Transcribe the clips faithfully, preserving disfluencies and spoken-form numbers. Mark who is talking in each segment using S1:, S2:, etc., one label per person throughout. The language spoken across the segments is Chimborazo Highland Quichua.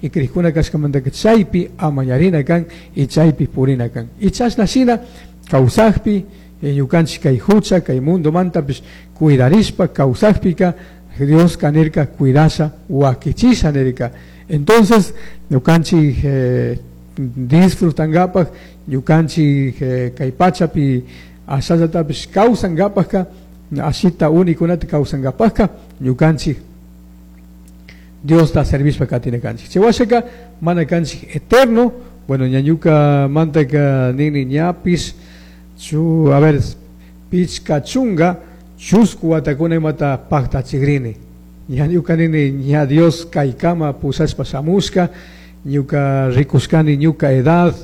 S1: Y crijkuna kashkamantaka chaypi amañarina kan y chaypi purina kan. Y chashna shina kawsakpi ñukanchik kay hucha kay mundomantapish cuidarishpa kawsakpika Dioska nirka cuidasha wakichisha nirka. Entonces ñukanchik eh, disfrutankapaj ñukanchik eh, kay pachapi ashallatapish kawsankapajka ashita unikunata kawsankapajka ñukanchik Diosta servishpa katina kanchik. Chay washaka mana kanchik eterno, bueno, ñañuka mantaka nini ñapish chu a ver pichka chunga chusku watakuna imata paktachikrini. Ña ñuka nini ña Dios kaykama pushashpa shamushka ñuka rikushkani ñuka edad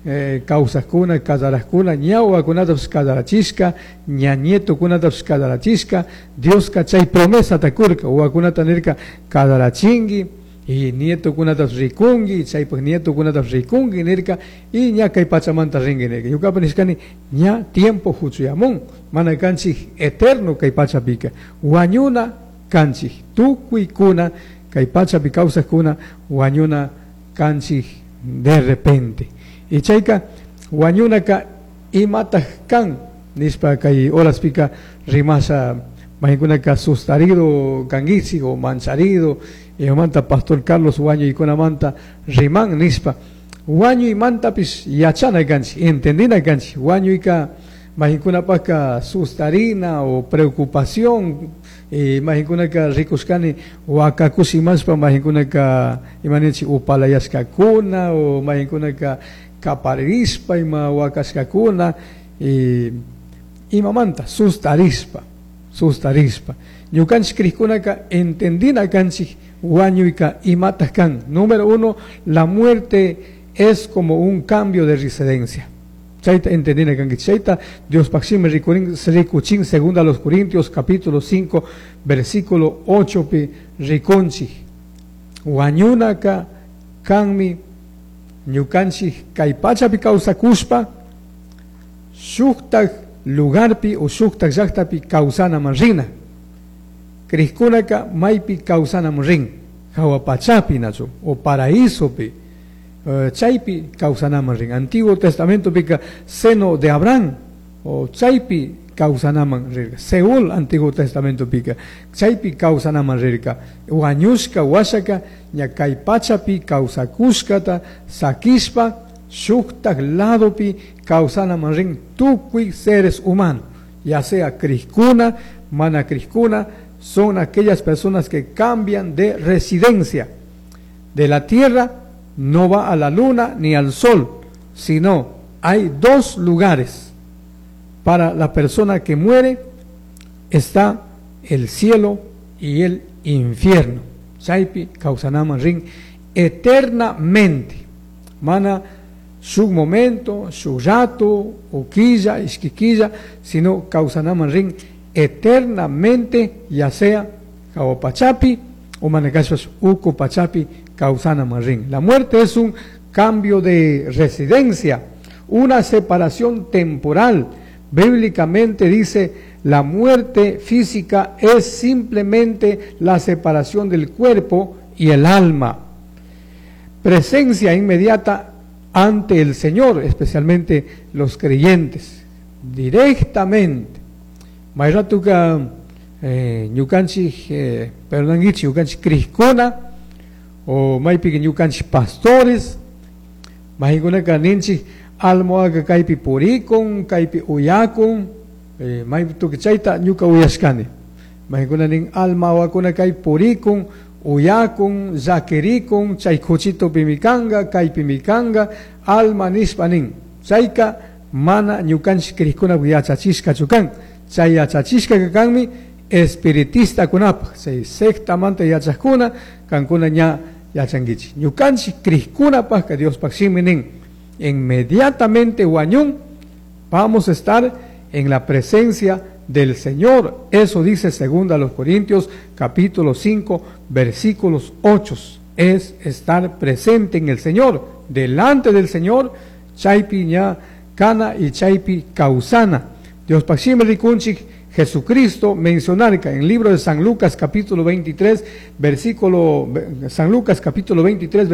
S1: eh, kawsakuna kasarajkuna ña wawakunatapish kasarachishka ña nietokunatapish kasarachishka Dioska chay promesata kurka wawakunata nirka kasarachinki y nietokunatapish rikunki chaypak nietokunatapish rikunki nirka y ña kay pachamanta rinki nirka. Ñukapak nishkani ña tiempo huchuyamun mana kanchik eterno kay pachapika wañuna kanchik tukuykuna kay pachapi kawsakuna wañuna kanchik de repente. Y chayka wañunaka imataj kan nishpa kay horaspika rimasha maykunaka sustarido kankichik o mancharido imamanta pastor Carlos wañuykunamanta riman nishpa wañuymantapish yachana kanchik entendina kanchik wañuyka maykunapaka sustarina o preocupación y maykunaka rikushkani wakakush imashpa maykunaka imaninchik upalayashkakuna o maykunaka kaparirishpa ima wakashkakuna y imamanta sustarishpa sustarishpa ñukanchik crijkunaka entendina kanchik wañuyka imataj kan. Número uno, la muerte es como un cambio de residencia. Chayta entendina kanki chayta Diospaj shimi rikurin rikuchin segunda a los Corintios capítulo cinco versículo ocho pi rikunchik wañunaka kanmi ñukanchik kay pachapi kawsakushpa shuktak lugarpi o shuktak llaktapi kawsanaman rina. Crijkunaka maypi kawsanaman rin hawa pachapi nachu o paraísopi uh, chaypi kawsanaman rin. Antiguo Testamento pika seno de Abraham o chaypi kawsanaman rirka. Seol Antiguo Testamento pika chaypi kawsanaman rirka. Wañushka washaka ña kay pachapi kawsakushkata sakishpa shuktak ladopi kawsanaman rin tukuy seres humanos, ya sea crijkuna, mana crijkuna, son aquellas personas que cambian de residencia. De la tierra no va a la luna ni al sol, sino hay dos lugares para la persona que muere: está el cielo y el infierno. Chaypi kawsanaman rin eternamente. Mana su momento, su rato, o quilla, ishki sino kawsanaman rin eternamente, ya sea jahua pachapi o manakashpas uku pachapi kawsanaman rin. La muerte es un cambio de residencia, una separación temporal. Bíblicamente dice, la muerte física es simplemente la separación del cuerpo y el alma. Presencia inmediata ante el Señor, especialmente los creyentes, directamente. Mayratuka eh, ñukanchik eh, perdonankichik ñukanchik crijkuna o maypika ñukanchik pastores maykunaka ninchik alma kaypi purikun kaypi uyakun eh, maytuka chayta ñuka uyashkani maykuna nin alma wawakuna kaypi purikun uyakun llakirikun chay kuchitupimi kanka kaypimi kanka alma nishpa nin chayka mana ñukanchik crijkunapak yachachishkachu kan. Chay yachachishkaka kanmi espiritistakunapaj chay sectamanta yachajkuna kankuna ña yachankichik ñukanchik crijkunapajka Diospaj shimi nin inmediatamente wañun vamos a estar en la presencia del Señor. Eso dice segunda a los Corintios capítulo cinco versículos ocho. Es estar presente en el Señor, delante del Señor, chaypi ña kana y chaypi kawsana. Diospaj shimi rikunchik Jesucristo mencionarka en el libro de San Lucas capítulo veintitrés versículo San Lucas capítulo veintitrés